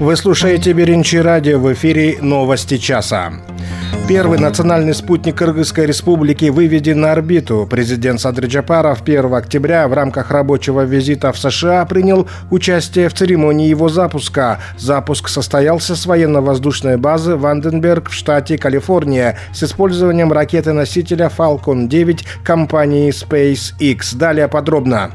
Вы слушаете Беринчи радио, в эфире новости часа. Первый национальный спутник Кыргызской республики выведен на орбиту. Президент Садыр Джапаров 1 октября в рамках рабочего визита в США принял участие в церемонии его запуска. Запуск состоялся с военно-воздушной базы Ванденберг в штате Калифорния с использованием ракеты-носителя Falcon 9 компании SpaceX. Далее подробно.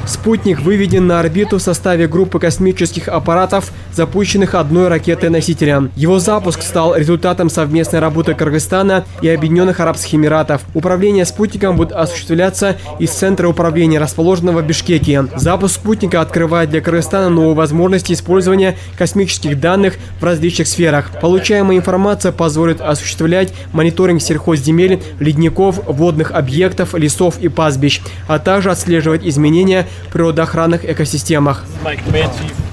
Спутник выведен на орбиту в составе группы космических аппаратов, запущенных одной ракетой-носителем. Его запуск стал результатом совместной работы Кыргызстана и Объединенных Арабских Эмиратов. Управление спутником будет осуществляться из центра управления, расположенного в Бишкеке. Запуск спутника открывает для Кыргызстана новые возможности использования космических данных в различных сферах. Получаемая информация позволит осуществлять мониторинг сельхозземель, ледников, водных объектов, лесов и пастбищ, а также отслеживать изменения в природоохранных экосистемах.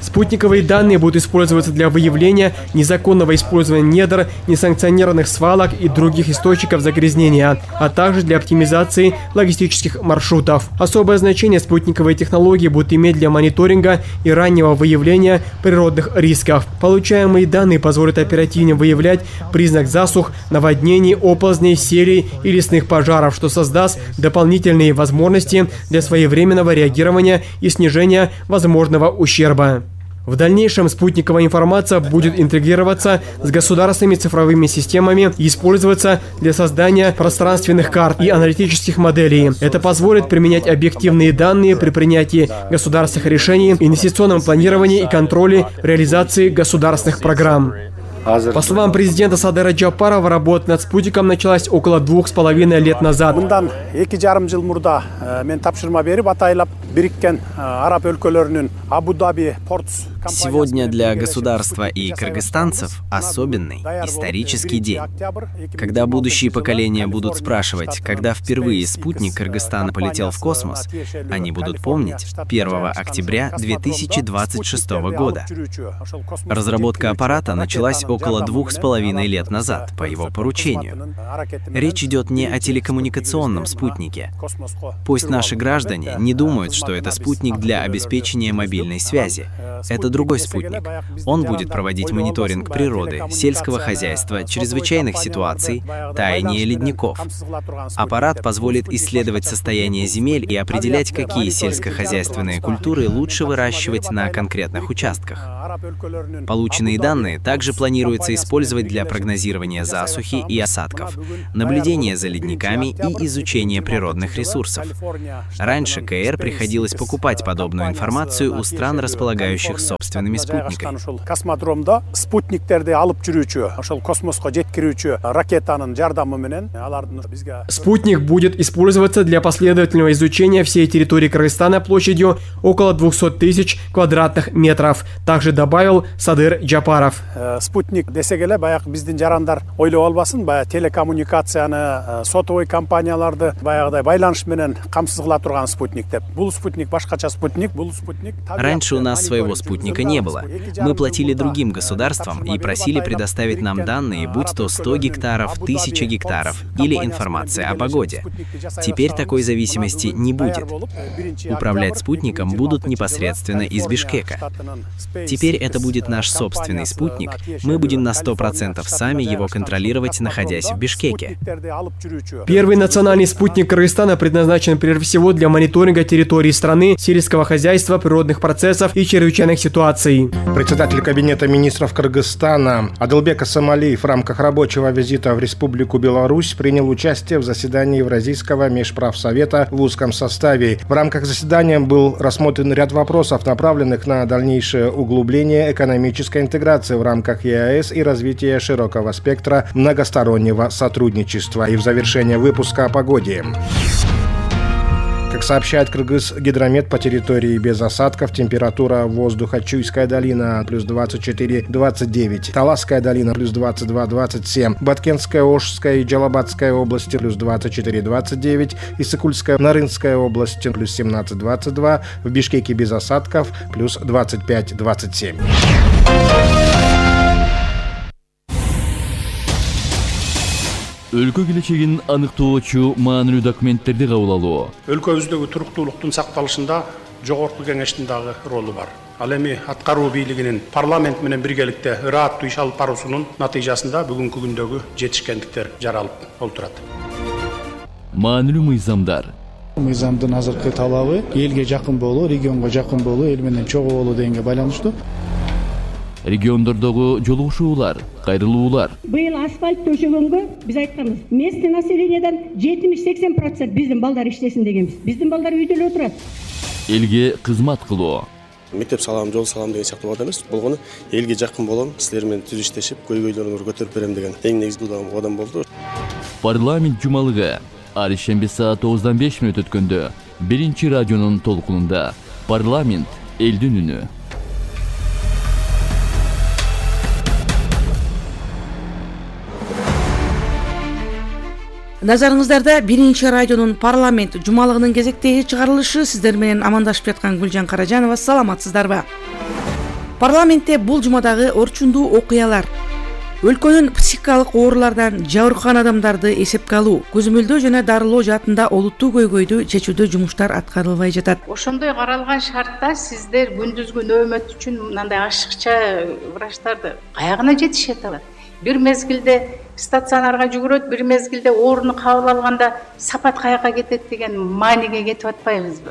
Спутниковые данные будут использоваться для выявления незаконного использования недр, несанкционированных свалок и других источников загрязнения, а также для оптимизации логистических маршрутов. Особое значение спутниковые технологии будут иметь для мониторинга и раннего выявления природных рисков. Получаемые данные позволят оперативнее выявлять признак засух, наводнений, оползней, серий и лесных пожаров, что создаст дополнительные возможности для своевременного реагирования и снижения возможного ущерба. В дальнейшем спутниковая информация будет интегрироваться с государственными цифровыми системами и использоваться для создания пространственных карт и аналитических моделей. Это позволит применять объективные данные при принятии государственных решений, инвестиционном планировании и контроле реализации государственных программ. По словам президента Садыра Джапарова, работа над спутником началась около 2,5 лет назад. Сегодня для государства и кыргызстанцев особенный исторический день. Когда будущие поколения будут спрашивать, когда впервые спутник Кыргызстана полетел в космос, они будут помнить 1 октября 2026 года. Разработка аппарата началась около 2,5 лет назад по его поручению. Речь идет не о телекоммуникационном спутнике. Пусть наши граждане не думают, что это спутник для обеспечения мобильной связи. Это другой спутник. Он будет проводить мониторинг природы, сельского хозяйства, чрезвычайных ситуаций, таяния ледников. Аппарат позволит исследовать состояние земель и определять, какие сельскохозяйственные культуры лучше выращивать на конкретных участках. Полученные данные также планируется использовать для прогнозирования засухи и осадков, наблюдения за ледниками и изучения природных ресурсов. Раньше КР приходилось покупать подобную информацию у стран, располагающих собственными спутниками. Спутник будет использоваться для последовательного изучения всей территории Кыргызстана площадью около 200 тысяч квадратных метров. Также добавил Садыр Джапаров. Спутник десегеле баяк биздин жарандар ойлоп албасын, баяк телекоммуникацияны, сотовый компанияларды баягыдай байланыш менен камсыз кыла турган спутник деп. Бул спутник башкача спутник, бул спутник. Раньше у нас своего спутника не было. Мы платили другим государствам и просили предоставить нам данные, будь то 100 гектаров, 1000 гектаров или информация о погоде. Теперь такой зависимости не будет. Управлять спутником будут непосредственно из Бишкека. Теперь это будет наш собственный спутник. Мы будем на 100% сами его контролировать, находясь в Бишкеке. Первый национальный спутник Кыргызстана предназначен прежде всего для мониторинга территории страны, сельского хозяйства, природных процессов и чрезвычайных ситуаций. Председатель Кабинета министров Кыргызстана Адылбек Асамалиев в рамках рабочего визита в Республику Беларусь принял участие в заседании Евразийского межправсовета в узком составе. В рамках заседания был рассмотрен ряд вопросов, направленных на дальнейшее углубление экономической интеграции в рамках ЕАЭС и развитие широкого спектра многостороннего сотрудничества. И в завершение выпуска о погоде. Как сообщает Кыргызгидромет, по территории без осадков температура воздуха: Чуйская долина плюс 24-29, Таласская долина плюс 22-27, Баткенская, Ошская и Джалабадская области плюс 24-29, Иссыкульская, Нарынская области плюс 17-22, в Бишкеке без осадков плюс 25-27. Өлкө келечегин аныктоочу маанилүү документтерди кабыл алуу. Өлкөбүздөгү туруктуулуктун сакталышында жогорку кеңештин дагы ролу бар. Ал эми аткаруу бийлигинин парламент менен биргеликте ырааттуу иш алып баруусунун натыйжасында бүгүнкү күндөгү жетишкендиктер жаралып олтурат. Маанилүү мыйзамдар. Мыйзамдын азыркы талабы элге жакын болуу, регионго жакын болуу, эл менен чогуу болуу дегенге байланыштуу. Региондордогу жолугушуулар, кайрылуулар. Быйыл асфальт төшөгөнгө биз айтканбыз. Местный населениядан 70-80% биздин балдар иштесин дегенбиз. Биздин балдар үйдө эле отурат. Элге кызмат кылуу. Мектеп салам, жол салам деген сыяктуу бат эмес. Болгону элге жакын болом, силер менен түз иштешип, көйгөйлөрүңөрдү көтөрүп берем деген эң негизги кадам болду. Парламент жумалыгы ар ишемби саат 9:05 өткөндө биринчи радионун толкунунда парламент элдин үнү. Назарыңыздарда биринчи радионун парламент жумалыгынын кезектеги чыгарылышы. Сиздер менен амандашып жаткан Гүлжан Каражанова. Саламатсыздарбы? Парламентте бул жумадагы орчундуу окуялар: өлкөнүн психикалык оорулардан жабыркаган адамдарды эсепке алуу, көзөмөлдөө жана дарылоо жаатында олуттуу көйгөйдү чечүүдө жумуштар аткарылбай жатат. Ошондой каралган шартта сиздер күндүзгү нөөмөт үчүн мындай ашыкча врачтарды каягына жетишет алат? Бир мезгилде стационарга жүгүрөт, бир мезгилде орunu кабыл алганда сапат каяка кетет деген мааниге кетип атпайбызбы?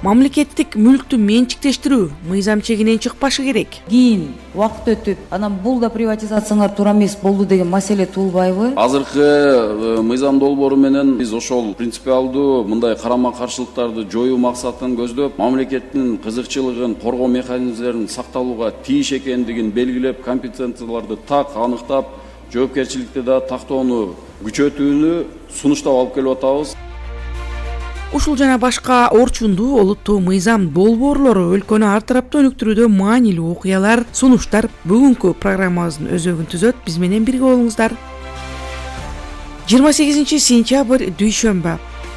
Мамлекеттик мүлктү менчиктештирүү мыйзам чегинен чыкпашы керек. Кийин убакыт өтүп, анан бул да приватизацияңар туура эмес болду деген маселе туулбайбы? Азыркы мыйзам долбоору менен биз ошол принципиалдуу мындай карама каршылыктарды жоюу максатын көздөп, мамлекеттин кызыкчылыгын коргоо механизмдерин сакталууга тийиш экендигин белгилеп, компетенцияларды так аныктап, жоопкерчиликти да тактоону күчөтүүнү сунуштап алып келип атабыз. Ушул жана башка орчундуу олуттуу мыйзам долбоорлору өлкөнү ар тараптуу өнүктүрүүдө маанилүү окуялар, сунуштар бүгүнкү программабыздын өзөгүн түзөт. Биз менен бирге болуңуздар. 28-сентябрь дүйшөмбү.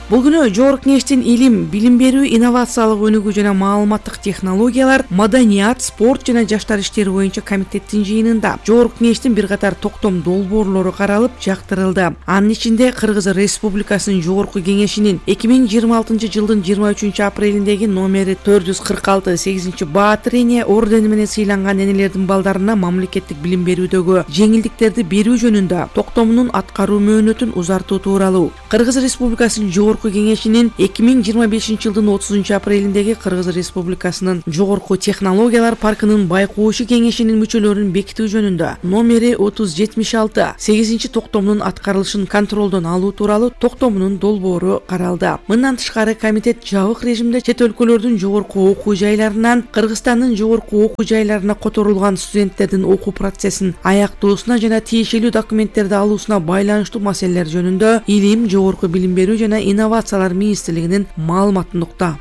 Бул күнү Жогорку кеңештин илим, билим берүү, инновациялык өнүгүү жана маалыматтык технологиялар, маданият, спорт жана жаштар иштери боюнча комитеттин жыйынында Жогорку кеңештин бир катар токтом долбоорлору каралып, жактырылды. Анын ичинде Кыргыз Республикасынын Жогорку кеңешинин 2026 жылдын 23 апрелиндеги номери 446 8 Баатыр эне ордени менен сыйланган энелердин балдарына мамлекеттик билим берүүдөгү жеңилдиктерди берүү жөнүндө токтомунун аткаруу мөөнөтүн узартуу тууралуу, Кыргыз Республикасынын Жогорку кеңешинин 2025 жылдын 30 апрелиндеги Кыргыз Республикасынын Жогорку технологиялар паркынын байкоочу кеңешинин мүчөлөрүн бекитүү жөнүндө номери 3076 8 токтомунун аткарылышын контролдон алуу тууралуу токтомунун долбоору каралды. Мындан тышкары комитет жабык режимде чет өлкөлөрдүн жогорку окуу жайларынан Кыргызстандын жогорку окуу жайларына которулган студенттердин окуу процессин аяктоосуна жана тиешелүү документтерди алуусуна байланыштуу маселелер жөнүндө илим, жогорку билим берүү жана инновациялар министрлигинин маалыматындыкта.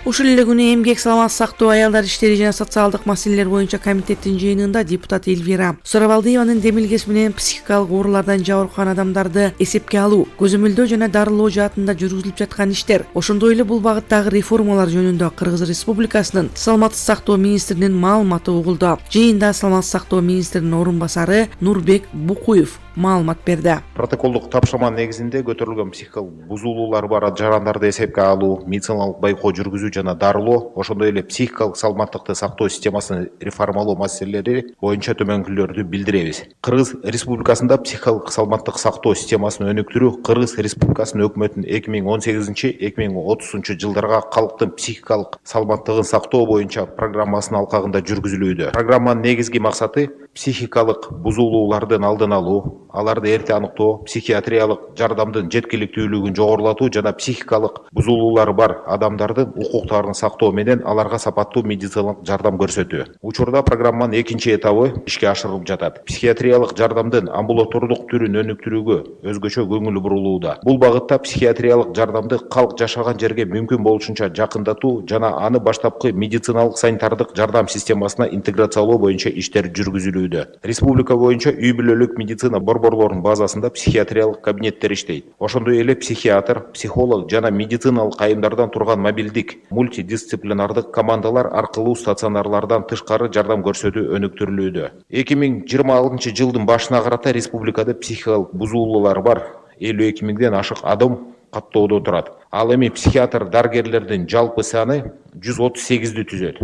Ушул эле күнү эмгек, саламат сактоо, аялдар иштери жана социалдык маселелер боюнча комитеттин жыйынында депутат Эльвира Сурабалдиеванын демилгеси менен психикалык оорулардан жабыркаган адамдарды эсепке алуу, көзөмөлдөө жана дарылоо жаатында жүргүзүлүп жаткан иштер, ошондой эле бул багыттагы реформалар жөнүндө Кыргыз Республикасынын саламаттык сактоо министринин маалыматы угулду. Жыйында саламаттык сактоо министринин орун басары Нурбек Букуев маалымат берди. Протоколдук тапшырма негизинде көтөрүлгөн психикалык бузулуулар бар жарандарды эсепке алуу, медициналык байкоо жүргүзүү жана дарылоо, ошондой эле психикалык саламаттыкты сактоо системасын реформалоо маселелери боюнча төмөнкүлөрдү билдиребиз. Кыргыз Республикасында психикалык саламаттык сактоо системасын өнүктүрүү Кыргыз Республикасынын өкмөтүнүн 2018-2030 жылдарга калктын психикалык саламаттыгын сактоо боюнча программасынын алкагында жүргүзүлүүдө. Программанын негизги максаты психикалык бузулуулардын алдын алуу, аларды эрте аныктоо, психиатриялык жардамдын жеткиликтүүлүгүн жогорулатуу жана психикалык бузулуулары бар адамдардын укуктарын сактоо менен аларга сапаттуу медициналык жардам көрсөтүү. Учурда программанын экинчи этабы ишке ашырылып жатат. Психиатриялык жардамдын амбулатордук түрүн өнүктүрүүгө өзгөчө көңүл бурулууда. Бул багытта психиатриялык жардамды калк жашаган жерге мүмкүн болушунча жакындатуу жана аны баштапкы медициналык санитардык жардам системасына интеграциялоо боюнча иштер жүргүзүлүүдө. Республика боюнча үй бүлөлүк медицина борборлорунун базасында психиатриялык кабинеттер иштейт. Ошондой эле психиатр, психолог жана медициналык айымдардан турган мобилдик, мультидисциплинардык командалар аркылуу стационарлардан тышкары жардам көрсөтүү өнүктүрүлүүдө. 2026 жылдын башына карата республикада психикалык бузулуулар бар 52 миңден ашык адам каттоодо турат. Ал эми психиатр дарыгерлердин жалпы саны 138 түзөт.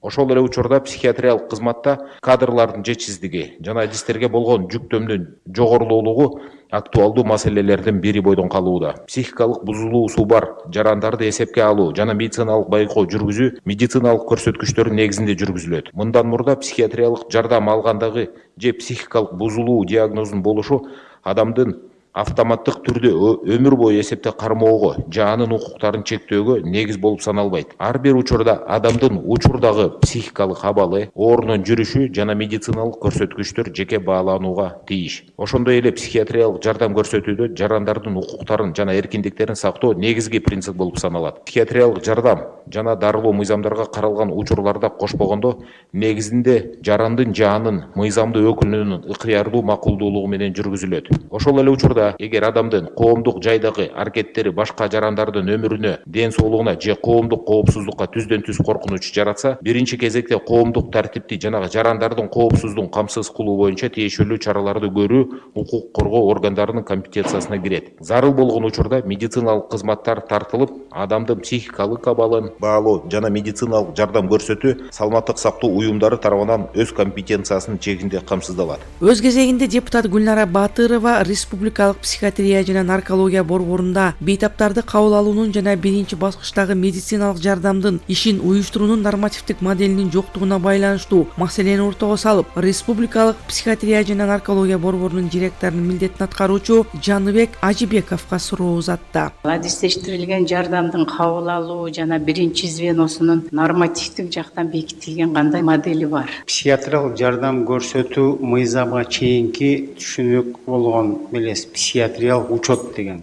Ошол эле учурда психиатриялык кызматта кадрлардын жетишсиздиги жана адистерге болгон жүктөмдүн жогорулуулугу актуалдуу маселелердин бири бойдон калууда. Психикалык бузулуусу бар жарандарды эсепке алуу жана медициналык байкоо жүргүзүү медициналык көрсөткүчтөрдүн негизинде жүргүзүлөт. Мындан мурда психиатриялык жардам алгандагы же психикалык бузулуу диагнозунун болушу адамдын автоматтык түрдө өмүр бою эсепте кармоого же анын укуктарын чектөөгө негиз болуп саналбайт. Ар бир учурда адамдын учурдагы психикалык абалы, оорунун жүрүшү жана медициналык көрсөткүчтөр жеке бааланууга тийиш. Ошондой эле психиатриялык жардам көрсөтүүдө жарандардын укуктарын жана эркиндиктерин сактоо негизги принцип болуп саналат. Психиатриялык жардам жана дарылоо мыйзамдарга каралган учурларда кошпогондо негизинде жарандын же анын мыйзамдуу өкүлүнүн ыкыярдуу макулдуулугу менен жүргүзүлөт. Ошол эле учурда эгер адамдын коомдук жайдагы аракеттери башка жарандардын өмүрүнө, ден соолугуна же коомдук коопсуздукка түздөн түз коркунуч жаратса, биринчи кезекте коомдук тартипти жана жарандардын коопсуздугун камсыз кылуу боюнча тиешелүү чараларды көрүү укук коргоо органдарынын компетенциясына кирет. Зарыл болгон учурда медициналык кызматтар тартылып, адамдын психикалык абалын баалоо жана медициналык жардам көрсөтүү саламаттык сактоо уюмдары тарабынан өз компетенциясынын чегинде камсыздалат. Өз кезегинде депутат Гүлнара Батырова республикалык психиатрия жана наркология борборунда бейтаптарды кабыл алуунун жана биринчи баскычтагы медициналык жардамдын ишин уюштуруунун нормативдик моделинин жоктугуна байланыштуу маселени ортого салып, республикалык психиатрия жана наркология борборунун директорунун милдетин аткаруучу Жаныбек Ажибековго суроо узатты. Адистештирилген жардамдын кабыл алуу жана биринчи звеносунун нормативдик жактан бекитилген кандай модели бар? Психиатриялык жардам көрсөтүү мыйзамга чейинки түшүнүк болгон белес психиатриялык учет деген.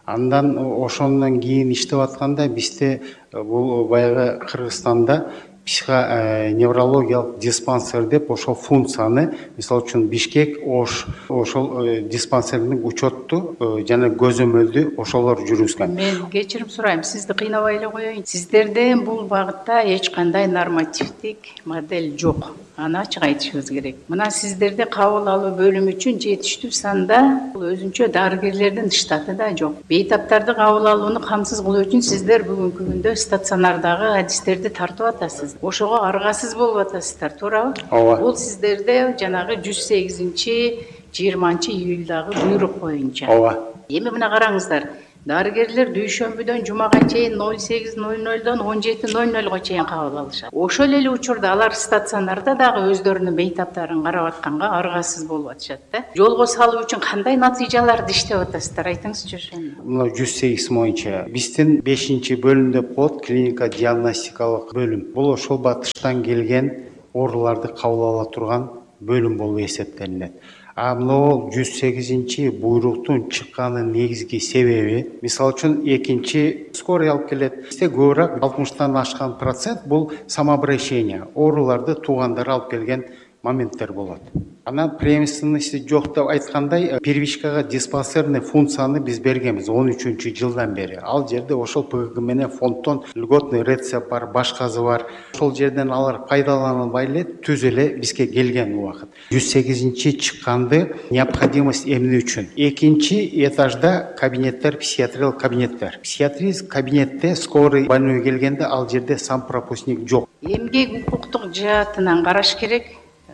Андан ошондон кийин иштеп атканда бизде бул баягы Кыргызстанда психоневрологиялык диспансер деп ошол функцияны, мисалы үчүн Бишкек, Ош ошол диспансердин учетту жана көзөмөлдү ошолор жүргүзгөн. Мен кечирим сурайм, сизди кыйнабай эле коеюн. Сиздерде бул багытта эч кандай нормативдик модель жок. Аны ачык айтышыбыз керек. Мына сиздерде кабыл алуу бөлүмү үчүн жетиштүү санда бул өзүнчө дарыгерлердин штаты да жок. Бейтаптарды кабыл алууну камсыз кылуу үчүн сиздер бүгүнкү күндө стационардагы адистерди тартып атасыз. Ошого аргасыз болуп атасыздар, туурабы? Ооба. Бул сиздерде жанагы 108-20-июлдагы буйрук боюнча. Ооба. Эми мына караңыздар. Дарыгерлер дүйшөмбүдөн жумага чейин 08:00дон 17:00го чейин кабыл алышат. Ошол эле учурда алар стационарда дагы өздөрүнүн бейтаптарын карап атканга аргасыз болуп атышат да. Жолго салуу үчүн кандай натыйжаларды иштеп атасыздар? Айтыңызчы ошону. Мына 108 боюнча биздин 5-бөлүм деп коет, клиника диагностикалык бөлүм. Бул ошол батыштан келген ооруларды кабыл ала турган бөлүм болуп эсептелинет. Мына 108 буйруктун чыкканын негизги себеби, мисалы үчүн экинчи скорый алып келет. Бизде көбүрөөк 60-тан ашкан процент бул самообращение, ооруларды туугандары алып келген моменттер болот. Анан преемственности жок деп айткандай, первичкага диспансерный функцияны биз бергенбиз 13-жылдан бери. Ал жерде ошол ПГГ менен фонддон льготный рецепт бар, башкасы бар. Ошол жерден алар пайдаланылбай эле түз эле бизге келген убакыт. 108 чыкканды необходимость эмне үчүн? Экинчи этажда кабинеттер, психиатриялык кабинеттер. Психиатрический кабинетте скорый больной келгенде ал жерде сам пропускник жок. Эмгек укуктук жаатынан караш керек.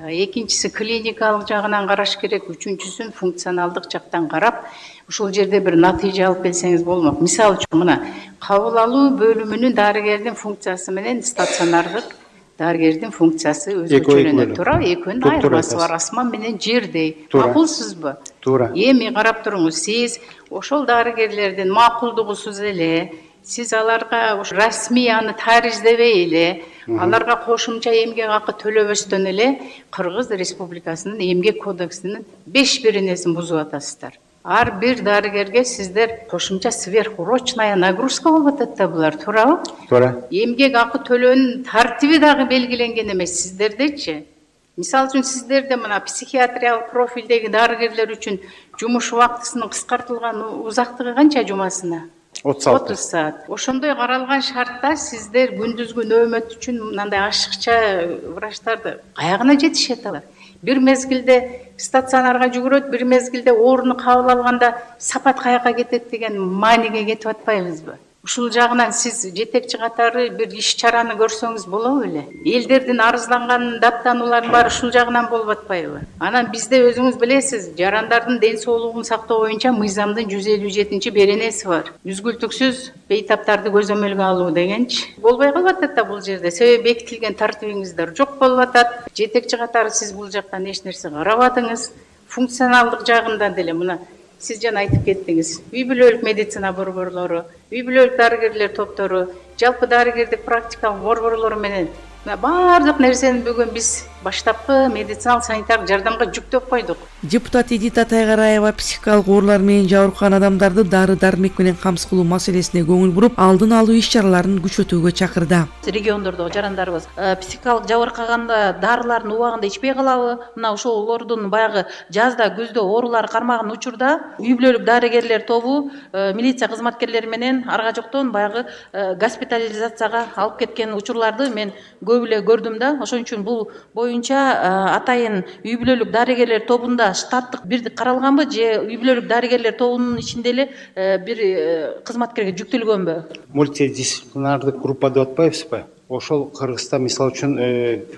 Экинчиси клиникалык жагынан караш керек, үчүнчүсүн функционалдык жактан карап, ушул жерде бир натыйжа алып келсеңиз болмок. Мисалы үчүн мына кабыл алуу бөлүмүнүн дарыгердин функциясы менен стационардык дарыгердин функциясы өзгөчөлөнөт, туура? Экөөнүн айырмасы бар, асман менен жердей. Макулсузбу? Туура. Эми карап туруңуз, сиз ошол дарыгерлердин макулдугусуз эле, сиз аларга расмий аны тариздебей эле, аларга кошумча эмгек акы төлөбөстөн эле Кыргыз Республикасынын эмгек кодексинин 5 бузуп атасыздар. Ар бир дарыгерге сиздер кошумча сверхурочная нагрузка болуп атат да булар, туурабы? Туура. Эмгек акы төлөөнүн тартиби дагы белгиленген эмес сиздердечи. Мисалы үчүн сиздерде мына психиатриялык профилдеги дарыгерлер үчүн жумуш убактысынын кыскартылган узактыгы канча жумасына? 30 саат. Ошондой каралган шартта сиздер күндүзгү нөөмөт үчүн мындай ашыкча врачтарды каягына жетишет алар? бир мезгилде стационарга жүгүрөт, бир мезгилде орунду кабыл алганда сапат каяка кетет деген мааниге кетип атпайбызбы? Ушул жагынан сиз жетекчи катары бир иш чараны көрсөңүз болобу беле? Элдердин арызланган даттанууларын баары ушул жагынан болуп атпайбы? Анан бизде өзүңүз билесиз, жарандардын ден соолугун сактоо боюнча мыйзамдын 157 беренеси бар. Үзгүлтүксүз бейтаптарды көзөмөлгө алуу дегенчи. Болбой калып атат да бул жерде. Себеби бекитилген тартибиңиздер жок болуп атат. Жетекчи катары сиз бул жактан эч нерсе карабадыңыз. Функционалдык жагында деле мына сиз жана айтып кеттиңиз. Үй бүлөлүк медицина борборлору, үй бүлөлүк дарыгерлер топтору, жалпы дарыгердик практикалык борборлору менен баардык нерсени бүгүн биз баштапкы медициналык санитардык жардамга жүктөп койдук. Депутат Эдита Тайгараева психикалык оорулар менен жабыркаган адамдарды дары-дармек менен камсыз кылуу маселесине көңүл буруп, алдын алуу иш-чараларын күчөтүүгө чакырды. Региондордогу жарандарыбыз психикалык жабыркаганда дарыларын убагында ичпей калабы? Мына ошолордун баягы жазда, күздө оорулары кармаган учурда үй бүлөлүк дарыгерлер тобу милиция кызматкерлери менен арга жоктон баягы госпитализацияга алып кеткен учурларды мен көп эле көрдүм да. Ошон үчүн бул боюнча атайын үй бүлөлүк дарыгерлер тобунда штаттык бирдик каралганбы же үй бүлөлүк дарыгерлер тобунун ичинде эле бир кызматкерге жүктөлгөнбү? Мультидисциплинардык группа деп атпайбызбы? Ошол Кыргызстан мисалы үчүн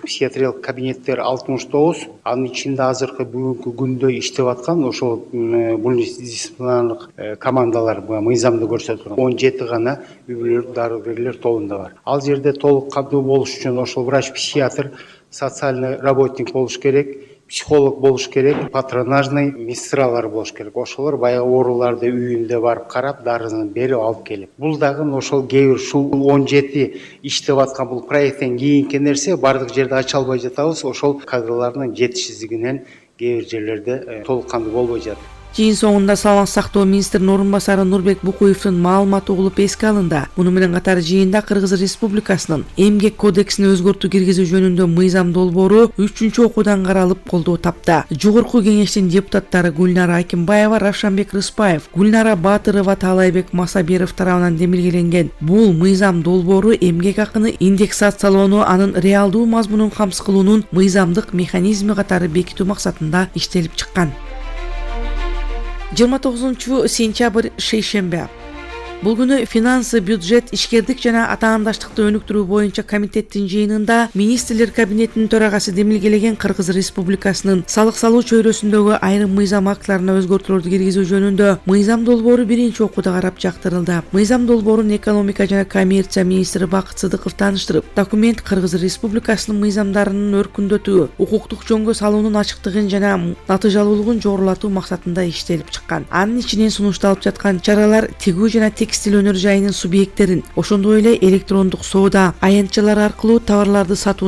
психиатриялык кабинеттер 69, анын ичинде азыркы бүгүнкү күндө иштеп аткан ошол мультидисциплинардык командалар мыйзамда көрсөтүлгөн 17 гана үй бүлөлүк дарыгерлер тобунда бар. Ал жерде толук каттуу болуш үчүн ошол врач-психиатр, социальный работник болуш керек, психолог болуш керек, патронажный медсестралар болуш керек. Ошолор баягы ооруларды үйүндө барып карап, дарыны берип алып келип. Бул дагы ошол кээ бир ушул 17 иштеп аткан бул проекттен кийинки нерсе бардык жерде ача албай жатабыз. Ошол кадрлардын жетишсиздигинен кээ бир жерлерде толук кандуу болбой жатат. Жыйын соңунда саламаттык сактоо министринин орун басары Нурбек Букуевдин маалыматы угулуп эске алынды. Муну менен катар жыйында Кыргыз Республикасынын эмгек кодексине өзгөртүү киргизүү жөнүндө мыйзам долбоору 3-окуудан каралып колдоо тапты. Жогорку кеңештин депутаттары Гүлнара Акимбаева, Равшанбек Рыспаев, Гүлнара Батырова, Таалайбек Масаберов тарабынан демилгеленген бул мыйзам долбоору эмгек акыны индексациялоону, анын реалдуу мазмунун камсыз кылуунун мыйзамдык механизми катары бекитүү максатында иштелип чыккан. 29 сентябрь шейшембе. Бул күнү финансы, бюджет, ишкердик жана атаандаштыкты өнүктүрүү боюнча комитеттин жыйынында министрлер кабинетинин төрагасы демилгелеген Кыргыз Республикасынын салык салуу чөйрөсүндөгү айрым мыйзам актыларына өзгөртүүлөрдү киргизүү жөнүндө мыйзам долбоору 1-окууда карап жактырылды. Мыйзам долбоорун экономика жана коммерция министри Бакыт Сыдыков тааныштырып, документ Кыргыз Республикасынын мыйзамдарынын өркүндөтүү, укуктук жөнгө салуунун ачыктыгын жана натыйжалуулугун жогорулатуу максатында иштелип чыккан. Анын ичинен сунушталып жаткан чаралар тигүү жана текстиль өнөр жайынын субъекттерин, ошондой эле электрондук соода аянтчалар аркылуу товарларды сатууну